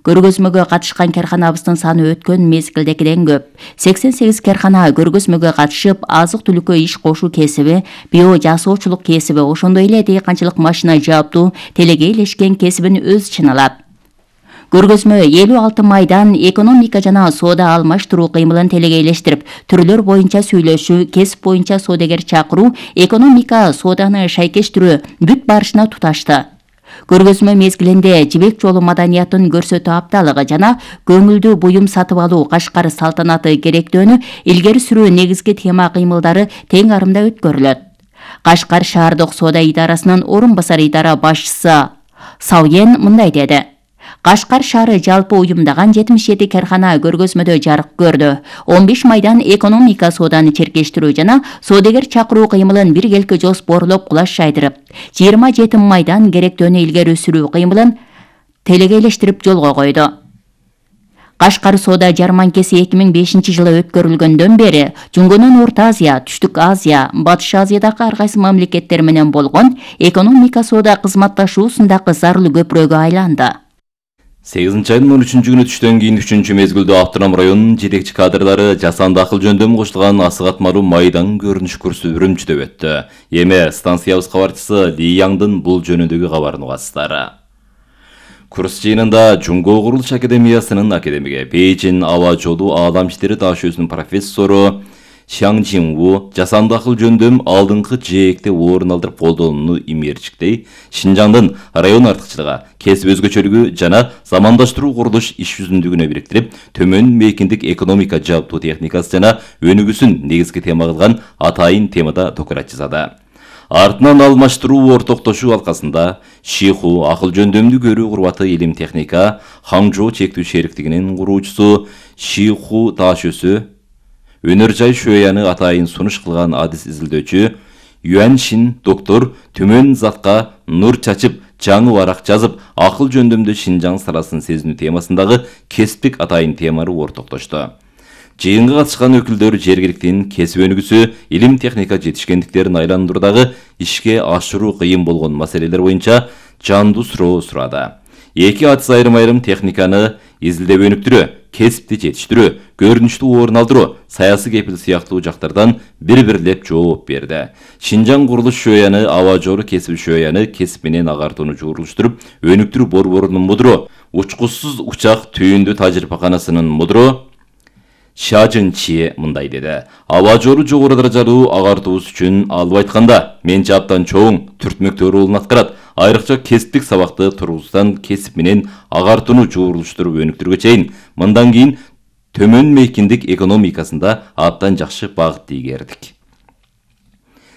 Көргөзмөгө катышкан керканабыздын саны өткөн мезгилдегиден көп. сексен сегиз керкана көргөзмөгө катышып, азык-түлүккө иш кошуу кесиби, био жасоочулук кесиби, ошондой эле дыйканчылык машина жаптуу, телеге илешкен кесибин өз ичине алат. Көргөзмө элүү алты майдан, экономика жана соода алмаштыруу кыймылын телеге илештирип, түрлөр боюнча сүйлөшүү, кесип боюнча соодагер чакыруу, экономика сооданы шайкештирүү бүт барышына туташты. Көргөзмө мезгилинде жибек жолу маданиятын көрсөтүү апталыгы жана көңүлдүү буюм сатып алуу Кашкар салтанаты керектөөнү илгери сүрүү негизги тема кыймылдары тең арымда өткөрүлөт. Кашкар шаардык соода идарасынын орун басар идара башчысы Сауен мындай деди. Кашкар шаары жалпы уюмдаган жетимиш жети керкана көргөзмөдө жарык көрдү. он беш майдан экономика сооданы черкештирүү жана соодагер чакыруу кыймылын бир келки жоспорлоп кулаш жайдырып, жыйырма жети майдан керектөөнү илгери сүрүү кыймылын телеге илештирип жолго койду. Кашкар соода жарманкеси эки миң бешинчи жылы өткөрүлгөндөн бери Жунгунун Орто Азия, Түштүк Азия, Батыш Азиядагы ар кайсы мамлекеттер менен болгон экономика соода кызматташуусундагы зарыл көпүрөгкө айланды. сегизинчи айдын он үчүнчү күнү түштөн кийин үчүнчү мезгилдө Автоном районунун жетекчи кадрлары жасанды акыл жөндөмү кошулган асык атмалуу майдан көрүнүш курсу Үрүмчүдө өттү. Эми станциябыз кабарчысы Ли Яңдын бул жөнүндөгү кабарын угасыздар. Курс жыйынында Жунго курулуш академиясынын академиги, Бейжин аба жолу аалам иштери дашөөсүнүн профессору Шаң Жинву жасанды акыл жөндөм алдыңкы жээкте орун алдырып колдонууну имээрчиктей, Шинжаңдын район артыкчылыгы, кесип өзгөчөлүгү жана замандаштыруу курулуш иш жүзүндүгүнө бириктирип, төмөн мейкиндик экономика жабдуу техникасы жана өнүгүүсүн негизги тема кылган атайын темада доклад жасады. Артынан алмаштыруу ортоктошуу алкасында Шиху акыл жөндөмдү көрүү курбаты илим техника, Хаңжоо чектүү шериктигинин куруучусу Шиху Ташөсү, Өнөр жай шөяны атайын сунуш кылган адис изилдөөчү Юан Шин доктор төмөн затка нур чачып, жаңы барак жазып, акыл жөндөмдө Шинжаң сарасын сезинүү темасындагы кесиптик атайын теманы ортоктошту. Жыйынга катышкан өкүлдөр жергиликтин кесип өнүгүүсү, илим техника жетишкендиктерин айландыруудагы ишке ашыруу кыйын болгон маселелер боюнча жандуу суроо сурады. Эки адис айрым-айрым техниканы изилдеп өнүктүрүү, кесипти жетиштирүү, көрүнүштүү орун алдыруу, саясий кепил сыяктуу жактардан бир-бирлеп жооп берди. Шинжаң курулуш шөяны аба жолу кесип шөяны кесип менен агартууну жуурулуштуруп, өнүктүрүү борборунун мудуру, учкучсуз учак түйүндү тажрыйбаканасынын мудуру Шажын Чи мындай деди. Аба жолу жогору даражалуу агартуубуз үчүн алып айтканда, менчи абдан чоң түртмөктүү ролун аткарат. Айрыкча кесиптик сабакты тургуздан кесип менен агартууну жуурулуштуруп өнүктүргө чейин, мындан кийин төмөн мейкиндик экономикасында абдан жакшы багыт тийгердик.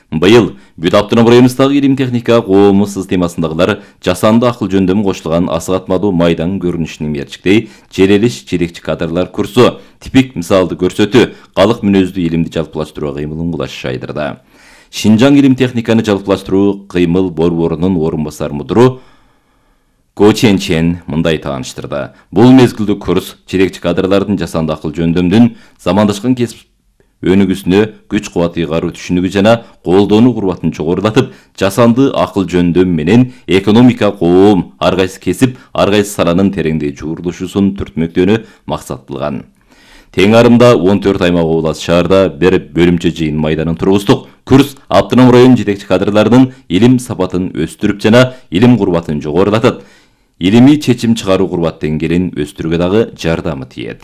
Быйыл бүт Автоном районубуздагы илим техника коомусуз темасындагылар жасанды акыл жөндөмү кошулган асык атмалуу майдан көрүнүшүн мерчиктей, желелиш жетекчи кадрлар курсу, типик мисалды көрсөтүү, калык мүнөздүү илимди жалпылаштыруу кыймылын кулаш жайдырды. Шинжаң илим техниканы жалпылаштыруу кыймыл борборунун орун басар мудуру Го Ченчен мындай тааныштырды. Бул мезгилде курс жетекчи кадрлардын жасанды акыл жөндөмдүн замандашкан кесип өнүгүүсүнө күч кубат ыйгаруу түшүнүгү жана колдонуу курбатын жогорулатып, жасанды акыл жөндөм менен экономика, коом, ар кайсы кесип, ар кайсы саланын тереңдей жуурулушуусун түртмөктөөнү максат кылган. Тең арымда он төрт аймак облас шаарда бир бөлүмчө жыйын майданын тургуздук. Курс автоном район жетекчи кадрларынын илим сапатын өстүрүп жана илим курбатын жогорулатат. Илимий чечим чыгаруу курбат деңгээлин өстүрүүгө дагы жардамы тиет.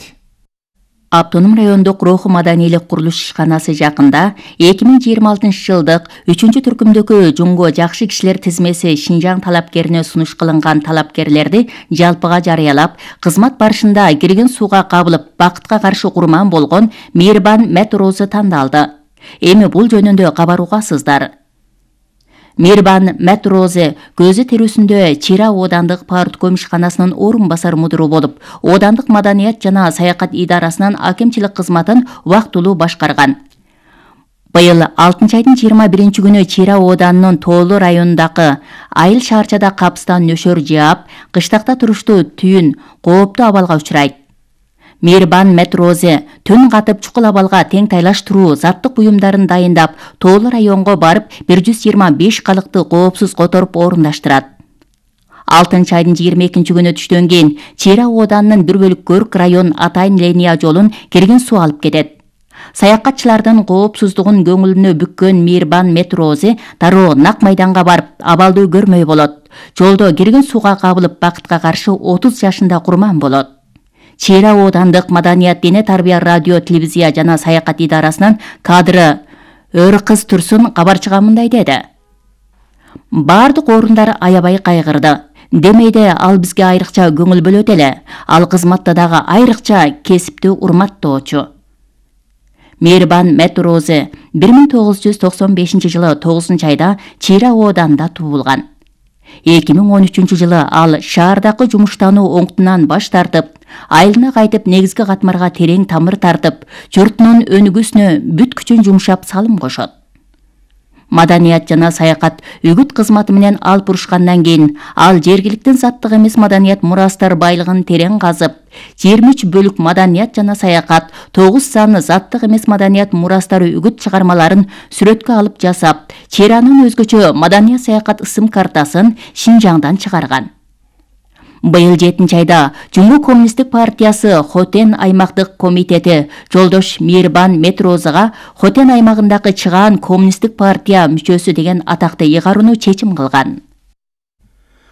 Автоном райондук руху маданийлик курулуш ишканасы жакында эки миң жыйырма алтынчы жылдык үчүнчү түркүмдөгү жунго жакшы кишилер тизмеси Шинжаң талапкерине сунуш кылынган талапкерлерди жалпыга жарыялап, кызмат барышында кирген сууга кабылып, бакытка каршы курман болгон Мейирбан Метрозы тандалды. Эми бул жөнүндө кабар угасыздар. Мейирбан Метрозы көзү терүүсүндө Чира оодандык партком ишканасынын орун басар мудуру болуп, оодандык маданият жана саякат идарасынын акимчилик кызматын убактылуу башкарган. Быйыл алтынчы айдын жыйырма биринчи күнү Чира ооданынын Тоолу районундагы Айыл шаарчада капыстан нөшөр жаап, кыштакта туруштуу түйүн кооптуу абалга учурайт. Мейирбан Метрозы түн катып чукул абалга тең тайлаштыруу заттык буюмдарын дайындап, Тоолу районго барып бир жүз жыйырма беш калыкты коопсуз которуп орундаштырат. алтынчы айдын жыйырма экинчи күнү түштөн кийин Чира ооданынын бир бөлүк Көрк район Атайын линия жолун кирген суу алып кетет. Саякатчылардын коопсуздугун көңүлүнө бүккөн Мейирбан Метрозы дароо нак майданга барып, абалды көрмөй болот. Жолдо кирген сууга кабылып, бакытка каршы отуз жашында курман болот. Чира оодандык маданият, дене тарбия, радио, телевизия жана саякат идарасынын кадры Өркыз Турсун кабарчыга мындай деди. Бардык орундар аябай кайгырды. Демейде ал бизге айрыкча көңүл бөлөт эле. Ал кызматта дагы айрыкча кесиптүү урматтоочу. Мейирбан Метрозы бир миң тогуз жүз токсон бешинчи жылы тогузунчу айда Чира ооданда туулган. эки миң он үчүнчү жылы ал шаардагы жумуштануу оңтунан баш тартып, айылына кайтып негизги катмарга терең тамыр тартып, журтунун өнүгүүсүнө бүт күчүн жумшап салым кошот. Маданият жана саякат үгүт кызматы менен алып урушкандан кийин ал жергиликтин заттык эмес маданият мурастар байлыгын терең казып, жыйырма үч бөлүк маданият жана саякат, тогуз сан заттык эмес маданият мурастары үгүт чыгармаларын сүрөткө алып жасап, Чиранын өзгөчө маданият саякат ысым картасын Шинжаңдан чыгарган. Быйыл жетинчи айда Жумгу коммунисттик партиясы Хотен аймактык комитети жолдош Мейирбан Метрозыга Хотен аймагындагы чыгаан коммунисттик партия мүчөсү деген атакты ыйгарууну чечим кылган.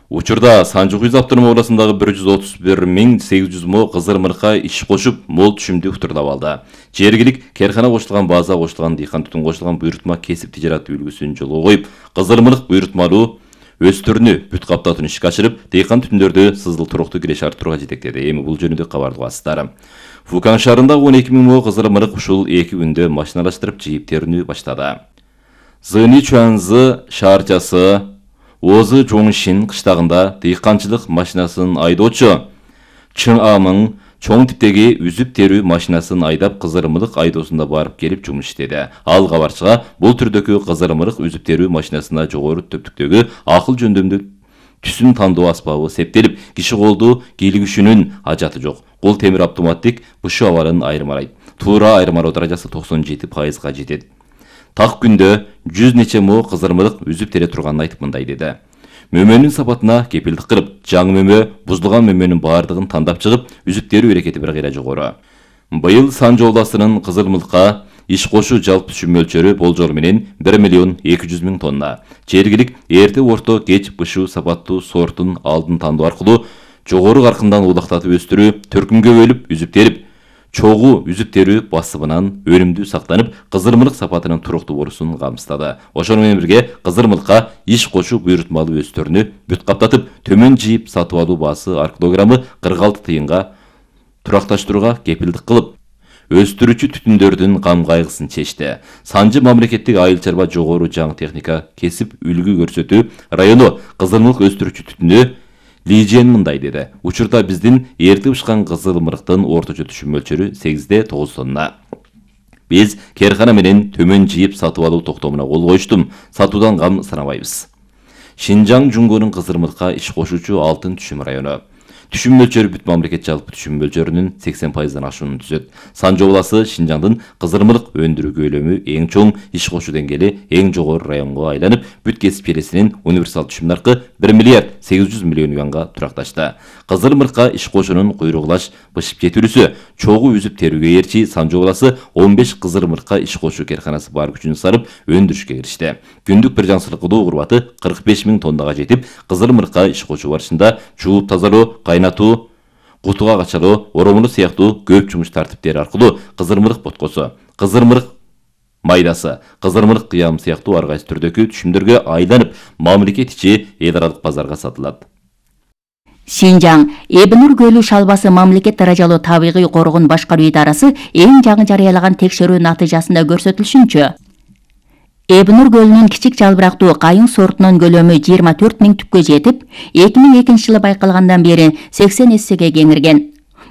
Учурда Санжы-Куюз автоном областындагы бир жүз отуз бир миң сегиз жүз мо кызырмырка иш кошуп, мол түшүмдүү турдап алды. Жергилик керкана кошулган, база кошулган, дыйкан түтүн кошулган буйрутма кесип тижараты үлгүсүн жолго коюп, кызырмырык буйрутмалуу өстөрүнү бүт каптатууну ишке ашырып, дыйкан түтүндөрдү сызыл туруктуу киреш арттырууга жетектеди. Эми бул жөнүндө кабар угасыздар. Фукан шаарындагы он эки миң мо кызырмырык ушул эки күндө машиналаштырып жыйып терүүнү баштады. Зыни Чуанзы шаарчасы Озы Жоңшин кыштагында дыйканчылык машинасын айдоочу Чың Амың чоң типтеги үзүп терүү машинасын айдап кызырмырык айдоосунда барып келип жумуш иштеди. Ал кабарчыга бул түрдөгү кызырмырык үзүп терүү машинасына жогору төптүктөгү акыл жөндөмдүү түсүн тандоо аспабы септелип, киши колду кийлигишүүнүн ажаты жок. Кол темир автоматтик бышы абалын айырмалайт. Туура айырмалоо даражасы токсон жети пайызга жетет. Так күндө жүз нече мо кызырмырык үзүп тере турганын айтып мындай деди. Мөмөнүн сапатына кепилдик кылып, жаңы мөмө бузулган мөмөнүн баардыгын тандап чыгып, үзүп терүү эрекети бир кыйра жогору. Быйыл Санжы областынын кызырмырыкка иш кошуу жалпы түшүм мөлчөрү болжол менен бир миллион эки жүз миң тонна. Жергилик эрте орто кеч бышуу сапаттуу сортун алдын тандоо аркылуу жогору каркындан улактатып өстүрүү, төркүмгө бөлүп үзүп терип, чогуу үзүп терүү басыбынан өнүмдүү сактанып, кызырмырык сапатынын туруктуу болуусун камсыздады. Ошону менен бирге кызырмырыкка иш кошуу буйрутмалуу өстөрүнү бүт каптатып, төмөн жыйып сатып алуу баасы ар килограммы кырк алты тыйынга туракташтырууга кепилдик кылып, өстүрүүчү түтүндөрдүн кам кайгысын чечти. Санжы мамлекеттик айыл чарба жогору жаңы техника кесип үлгү көрсөтүү району кызырмырык өстүрүүчү түтүнү Лижен мындай деди. Учурда биздин эрте бышкан кызырмырыктын орточо түшүм мөлчөрү сегизде тогуз тонна. Биз керкана менен төмөн жыйып сатып алуу токтомуна кол коюштум. Сатуудан кам санабайбыз. Шинжаң Жунгонун Кызырмыркка иш кошуучу алтын түшүм району. Түшүм мөлчөрү бүт мамлекет жалпы түшүм мөлчөрүнүн сексен пайыздан ашуун түзөт. Санжы обласы Шинжаңдын Кызырмырк өндүрүү көлөмү эң чоң, иш кошуу деңгээли эң жогору районго айланып, бүт кесип элесинин универсал түшүм наркы бир миллиард сегиз жүз миллион юанга туракташты. Кызырмыркка иш кошуунун куйругулаш бышып жетүүлүсү, чогуу үзүп терүүгө ээрчи Санжы обласы он беш Кызырмыркка иш кошуу керканасы бар күчүн сарып өндүрүшкө киришти. Күндүк бир жаңсырык кудуу курбаты кырк беш миң тоннага жетип, Кызырмыркка иш кошуу барышында жууп тазалоо, кайнатуу, кутуга качалоо, оромолуу сыяктуу көп жумуш тартиптери аркылуу Кызырмырк боткосу, Кызырмырк майдасы, Кызырмырк кыям сыяктуу ар кайсы түрдөгү түшүмдөргө айланып, мамлекет ичи эл аралык базарга сатылат. Шинжаң Эбинур көлү шалбасы мамлекет даражалуу табигый коргоон башкаруу идарасы эң жаңы жарыялаган текшерүү натыйжасында көрсөтүлүшүнчө, Эбинур көлүнүн кичик жалбырактуу кайың сортунун көлөмү жыйырма төрт миң түпкө жетип, эки миң экинчи жылы байкалгандан бери сексен эссеге кеңирген.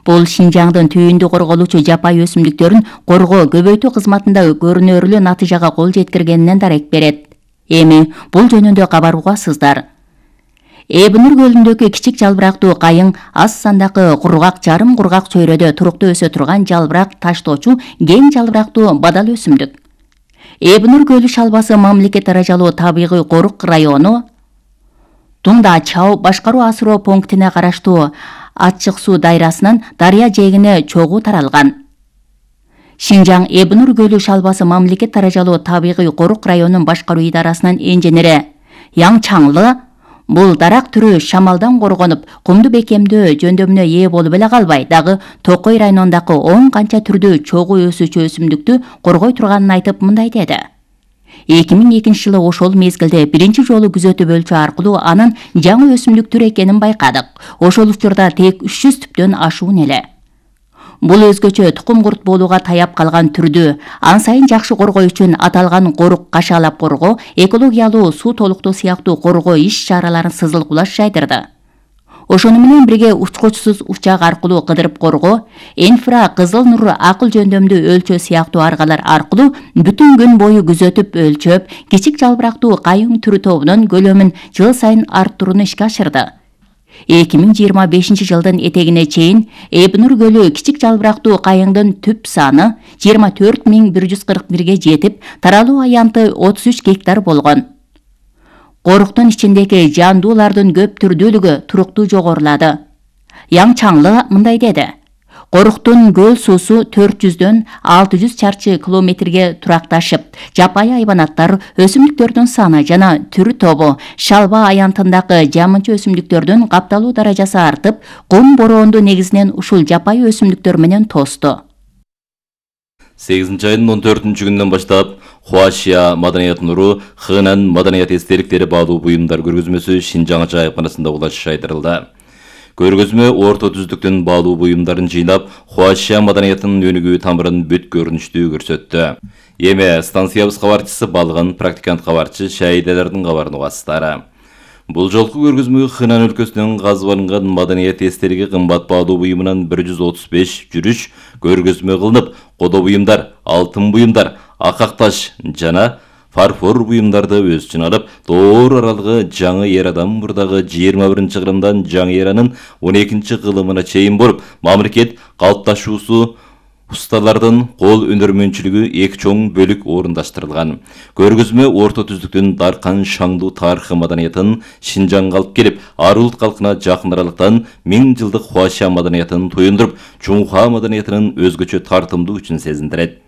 Бул Шинжаңдын түйүндү корголуучу жапайы өсүмдүктөрүн коргоо, көбөйтүү кызматында көрүнөрлүү натыйжага кол жеткиргенинен дарек берет. Эми бул жөнүндө кабаргуасыздар. Эбинур көлүндөгү кичик жалбырактуу кайың аз сандагы кургак, жарым кургак чөйрөдө туруктуу өсө турган жалбырак таштоочу кең жалбырактуу бадал өсүмдүк. Эбинур көлү шалбасы мамлекет даражалуу табигый корук району Тунда Чау башкаруу асыроо пунктине караштуу ачык суу дайрасынан дарыя жээгине чогуу таралган. Шинжаң Эбинур көлү шалбасы мамлекет даражалуу табигый корук районунун башкаруу идарасынын инженери Яң Чаңлы бул дарак түрү шамалдан коргонуп, кумду бекемдөө жөндөмүнө ээ болуп эле калбай, дагы Токой районундагы он канча түрдүү чогуу өсүүчү өсүмдүктү коргой турганын айтып мындай деди. эки миң экинчи жылы ошол мезгилде биринчи жолу күзөтүп өлчөө аркылуу анын жаңы өсүмдүк түр экенин байкадык. Ошол учурда тек үч жүз түптөн ашуун эле. Бул өзгөчө тукум курт болууга таяп калган түрдү ан сайын жакшы коргоо үчүн аталган корук кашаалап коргоо, экологиялуу суу толуктоо сыяктуу коргоо иш-чараларын сызылгулаш жайдырды. Ошону менен бирге учкучсуз учак аркылуу кыдырып коргоо, инфра кызыл нур акыл жөндөмдүү өлчөө сыяктуу аргалар аркылуу бүтүн күн бою күзөтүп өлчөп, кичик жалбырактуу кайың түрү тобунун көлөмүн жыл сайын арттырууну ишке ашырды. эки миң жыйырма бешинчи жылдын этегине чейин Эбинур көлү кичик жалбырактуу кайыңдын түп саны жыйырма төрт миң бир жүз кырк бирге жетип, таралуу аянты отуз үч гектар болгон. Коруктун ичиндеги жандуулардын көп түрдүүлүгү туруктуу жогорулады. Яң Чаңлы мындай деди. Коруктун көл суусу төрт жүздөн алты жүз чарчы километрге туракташып, жапайы айбанаттар, өсүмдүктөрдүн саны жана түрү тобу, шалба аянтындагы жамынчы өсүмдүктөрдүн капталуу даражасы артып, кум бороонду негизинен ушул жапайы өсүмдүктөр менен тосту. сегизинчи айдын он төртүнчү күнүнөн баштап Хуашия маданият нуру Хынан маданият эстеликтери баалуу буюмдар көргөзмөсү Шинжаң жайыпканасында улаш айдырылды. Көргөзмө орто түздүктөн баалуу буюмдарын жыйнап, Хуашия маданиятынын өнүгүү тамырын бүт көрүнүштүү көрсөттү. Эми станциябыз кабарчысы Балган практикант кабарчы Шаиделердин кабарын угасыздар. Бул жолку көргөзмө Хынан өлкөсүнүн казып алынган маданият эстелиги кымбат баалуу буюмунан бир жүз отуз беш жүрүш көргөзмө кылынып, кодо буюмдар, алтын буюмдар, акак таш жана фарфор буюмдарды өз ичине алып, доор аралыгы жаңы эр адам мурдагы жыйырма биринчи кылымдан жаңы эранын он экинчи кылымына чейин болуп, мамлекет калыпташуусу усталардын кол өнөрмөнчүлүгү эки чоң бөлүк орундаштырылган. Көргөзмө орто түздүктүн даркан шаңдуу тарыхы маданиятын Шинжаңга алып келип, ар улут калкына жакын аралыктан миң жылдык Хуашия маданиятын туюндуруп, Чуңха маданиятынын өзгөчө тартымдуу күчүн сезиндирет.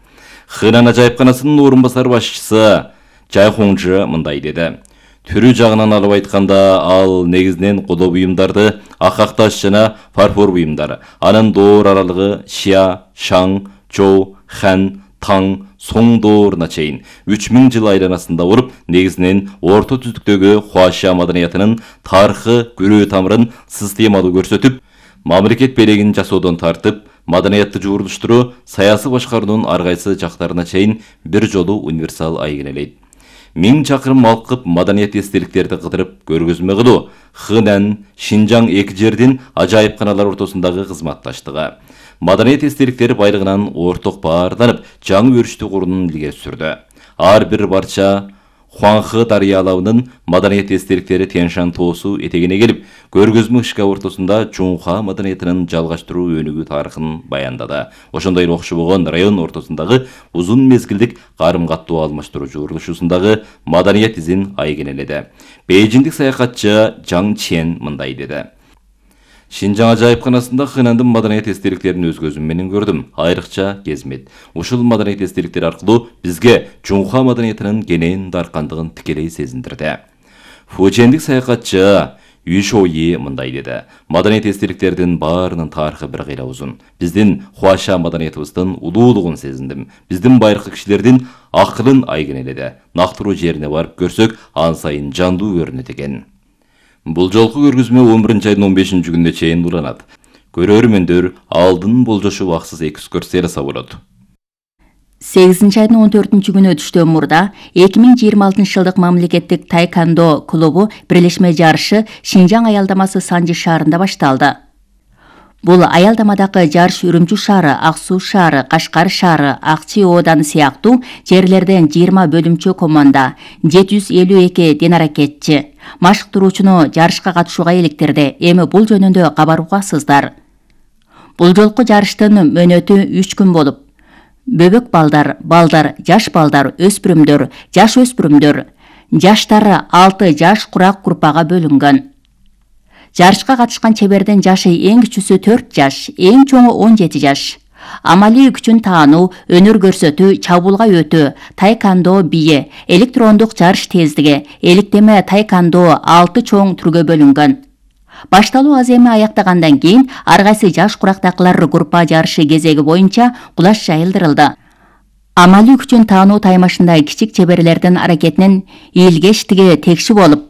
Хынан ажайыпканасынын орун басар башчысы Жайхоңжы мындай деди. Түрү жагынан алып айтканда, ал негизинен кодо буюмдарды, акак таш жана фарфор буюмдар, анын доор аралыгы Шия, Шаң, Чоу, Хан, Таң, Соң дооруна чейин үч миң жыл айланасында болуп, негизинен орто түздүктөгү Хуашия маданиятынын тарыхы, көрүү тамырын системалуу көрсөтүп, мамлекет белегин жасоодон тартып, маданиятты жуурулуштуруу, саясий башкаруунун ар кайсы жактарына чейин бир жолу универсал айгинелейт. Миң чакырым алкып маданият эстеликтерди кыдырып көргөзмө кылуу Хынан, Шинжаң эки жердин ажайыпканалар ортосундагы кызматташтыгы. Маданият эстеликтери байлыгынан орток баарланып, жаңы өрүштү курууну илгери сүрдү. Ар бир барча Хуанхэ дарыя алабынын маданият эстеликтери Тянь-Шань тоосу этегине келип, көргөзмө ишке ортосунда Чунха маданиятынын жалгаштыруу өнүгүү тарыхын баяндады. Ошондой эле окшобогон район ортосундагы узун мезгилдик карым-каттоо алмаштыруучу урулушусундагы маданият изин айгинеледи. Бейжиңдик саякатчы Жаң Чен мындай деди. Шинжаң ажайыпканасында Хэнандын маданият эстеликтерин өз көзүм менен көрдүм. Айрыкча кезмет. Ушул маданият эстеликтери аркылуу бизге Чунха маданиятынын кенен даркандыгын тикелей сезиндирди. Фужендик саякатчы Үй Шоуи мындай деди. Маданият эстеликтердин баарынын тарыхы бир кыйла узун. Биздин Хуаша маданиятыбыздын улуулугун сезиндим. Биздин байыркы кишилердин акылын айгинеледи. Нактыруу жерине барып көрсөк, ан сайын жандуу көрүнөт экен. Бул жолку көргөзмө он биринчи айдын он бешинчи күнүнө чейин уланат. Көрөрмөндөр алдын болжошуп аксыз экскурсия жасап болот. сегизинчи айдын он төртүнчү күнү түштөн мурда эки миң жыйырма алтынчы жылдык мамлекеттик тайкандо клубу бирлешме жарышы Шинжаң аялдамасы Санжи шаарында башталды. Бул аялдамадагы жарыш Үрүмчү шаары, Ак Суу шаары, Кашкар шаары, Акчи ооданы сыяктуу жерлерден жыйырма бөлүмчө команда, жети жүз элүү эки денаракетчи машыктыруучуну жарышка катышууга иликтирди. Эми бул жөнүндө кабар угасыздар. Бул жолку жарыштын мөөнөтү үч күн болуп, бөбөк балдар, балдар, жаш балдар, өспүрүмдөр, жаш өспүрүмдөр, жаштары алты жаш курак группага бөлүнгөн. Жарышка катышкан чебердин жашы эң кичүүсү төрт жаш, эң чоңу он жети жаш. Амалий күчүн таануу, өнөр көрсөтүү, чабуулга өтүү, тайкандо бийи, электрондук жарыш тездиги, эликтеме тайкандо алты чоң түргө бөлүнгөн. Башталуу аз эми аяктагандан кийин ар кайсы жаш курактакылар группа жарышы кезеги боюнча кулаш жайылдырылды. Амалий күчүн таануу таймашында кичик чеберлердин аракетинин ийилгештиги текши болуп,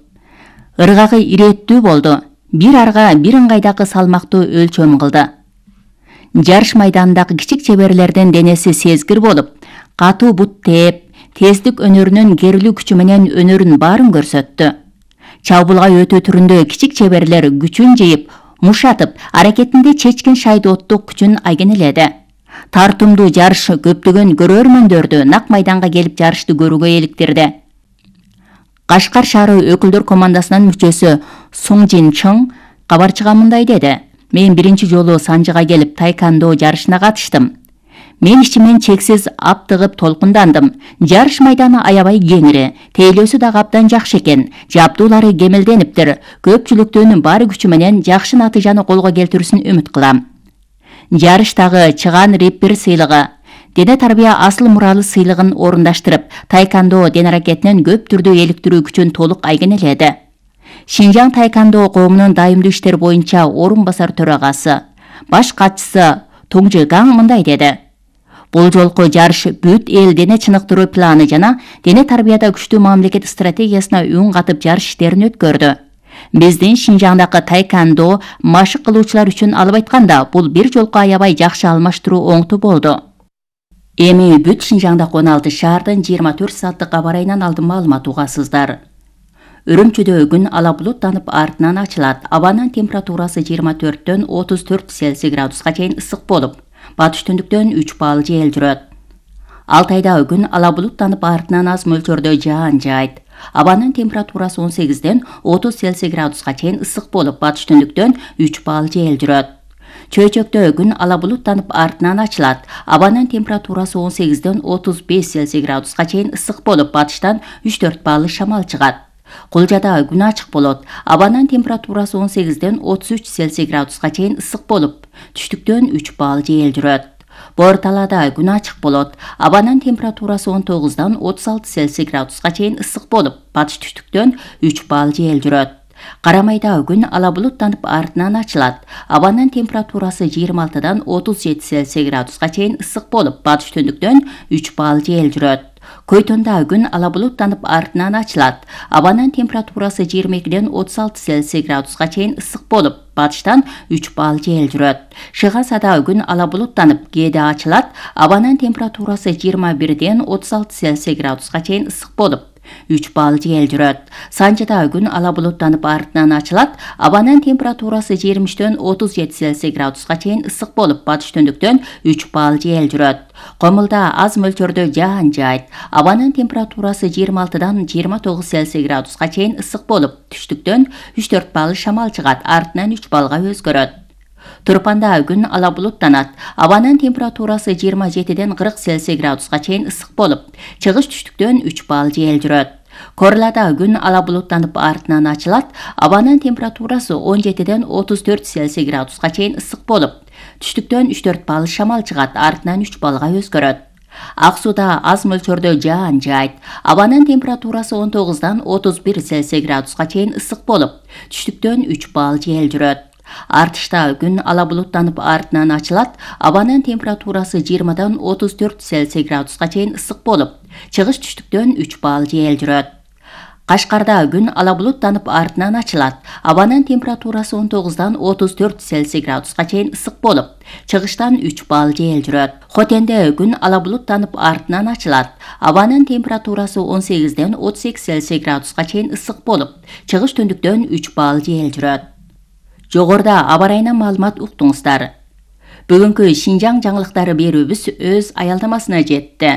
ыргагы ирээттүү болду. Бир арга бир ыңгайдагы салмактуу өлчөм кылды. Жарыш майданындагы кичик чеберлердин денеси сезгир болуп, катуу бут тээп, тездик өнөрүнүн керилүү күчү менен өнөрүн баарын көрсөттү. Чабуулга өтүү түрүндө кичик чеберлер күчүн жыйып, мушатып, аракетинде чечкин шайдооттук күчүн айгинеледи. Тартымдуу жарыш көптөгөн көрөрмөндөрдү нак майданга келип жарышты көрүүгө иликтирди. Кашкар шаары өкүлдөр командасынын мүчөсү Суң Жин Чың кабарчыга мындай деди. Мен биринчи жолу Санжыга келип тайкандо жарышына катыштым. Мен ичимен чексиз аптыгып толкундандым. Жарыш майданы аябай кеңири, тейлөөсү дагы абдан жакшы экен. Жабдуулары кемелдениптир. Көпчүлүктүн баары күчү менен жакшы натыйжаны колго келтирүүсүн үмүт кылам. Жарыштагы чыган реппер сыйлыгы, дене тарбия асыл муралы сыйлыгын орундаштырып, тайкандо ден аракетинин көп түрдүү эликтирүү күчүн толук айгинеледи. Шинжаң тайкандо коомунун дайымдуу иштер боюнча орун басар төрагасы, баш катчысы Туңжы Гаң мындай деди. Бул жолку жарыш бүт эл дене чыныктыруу планы жана дене тарбияда күчтүү мамлекет стратегиясына үн катып жарыш иштерин өткөрдү. Биздин Шинжаңдагы тайкандо машык кылуучулар үчүн алып айтканда бул бир жолку аябай жакшы алмаштыруу оңту болду. Эми бүт Шинжаңдагы он алты шаардын жыйырма төрт сааттык кабар айынан алдын маалымат угасыздар. Үрүмчүдө күн ала булуттанып артынан ачылат. Абанын температурасы жыйырма төрттөн отуз төрт Цельсий градуска чейин ысык болуп, батыш түндүктөн үч балл жел жүрөт. Алтайда күн ала булуттанып артынан аз мөлчөрдө жаан жаайт. Абанын температурасы он сегизден отуз Цельсий градуска чейин ысык болуп, батыш түндүктөн үч балл жел жүрөт. Чөйчөктө күн ала булуттанып артынан ачылат. Абанын температурасы он сегизден отуз беш Цельсий градуска чейин ысык болуп, батыштан үч төрт балл шамал чыгат. Кулжада күн ачык болот. Абанын температурасы он сегизден отуз үч Цельсий градуска чейин ысык болуп, түштүктөн үч балл жел жүрөт. Борталада күн ачык болот. Абанын температурасы он тогуздан отуз алты Цельсий градуска чейин ысык болуп, батыш түштүктөн үч балл жел жүрөт. Карамайда күн ала булуттанып артынан ачылат. Абанын температурасы жыйырма алтыдан отуз жети Цельсий градуска чейин ысык болуп, батыш түндүктөн үч балл жел жүрөт. Көйтөндө күн ала булуттанып артынан ачылат. Абанын температурасы жыйырма экиден отуз алты Цельсий градуска чейин ысык болуп, батыштан үч балл жел жүрөт. Шыгасада күн ала булуттанып кээде ачылат. Абанын температурасы жыйырма бирден отуз алты Цельсий градуска чейин ысык болуп, үч балл жел жүрөт. Санжыда күн ала булуттанып артынан ачылат. Абанын температурасы жыйырма үчтөн отуз жети Цельсий градуска чейин ысык болуп, батыш түндүктөн үч балл жел жүрөт. Комулда аз мөлчөрдө жаан жайт. Абанын температурасы жыйырма алтыдан жыйырма тогуз Цельсий градуска чейин ысык болуп, түштүктөн үч төрт балл шамал чыгат, артынан үч баллга өзгөрөт. Турпанда күн ала булуттанат. Абанын температурасы жыйырма жетиден кырк Цельсий градуска чейин ысык болуп, чыгыш түштүктөн үч балл жел жүрөт. Корлада күн ала булуттанып артынан ачылат. Абанын температурасы он жетиден отуз төрт Цельсий градуска чейин ысык болуп, түштүктөн үч төрт балл шамал чыгат, артынан үч баллга өзгөрөт. Ак сууда аз мөлчөрдө жаан жайт. Абанын температурасы он тогуздан отуз бир Цельсий градуска чейин ысык болуп, түштүктөн үч балл жел жүрөт. Артышта күн ала булуттанып артынан ачылат. Абанын температурасы жыйырмадан отуз төрт Цельсий градуска чейин ысык болуп, чыгыш түштүктөн үч балл жел жүрөт. Кашкарда күн ала булуттанып артынан ачылат. Абанын температурасы он тогуздан отуз төрт Цельсий градуска чейин ысык болуп, чыгыштан үч балл жел жүрөт. Хотенде күн ала булуттанып артынан ачылат. Абанын температурасы он сегизден отуз сегиз Цельсий градуска чейин ысык болуп, чыгыш түндүктөн үч балл жел жүрөт. Жогоруда аба ырайынан маалымат уктуңуздар. Бүгүнкү Шинжаң жаңылыктары берүүбүз өз аялдамасына жетти.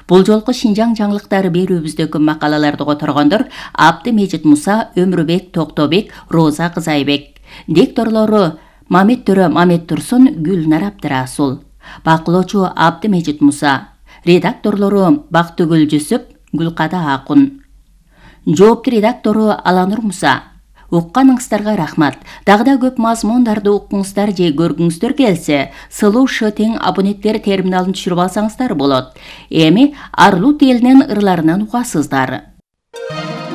Бул жолку Шинжаң жаңылыктары берүүбүздөгү макалаларды которгондор Абдымежит Муса, Өмүрбек Токтобек, Роза Кызайбек. Дикторлору Мамет Төрө Мамет Турсун, Гүлнар Абдырасул. Бакылоочу Абдымежит Муса. Редакторлору Бактыгүл Жүсүп, Гүлкада Акун. Жоопту редактору Аланур Муса. Укканыңыздарга рахмат. Дагы да көп мазмундарды уккуңуздар же көргүңүздөр келсе, Сылуу Ш тең абоненттер терминалын түшүрүп алсаңыздар болот. Эми Арлут элинин ырларынан угасыздар.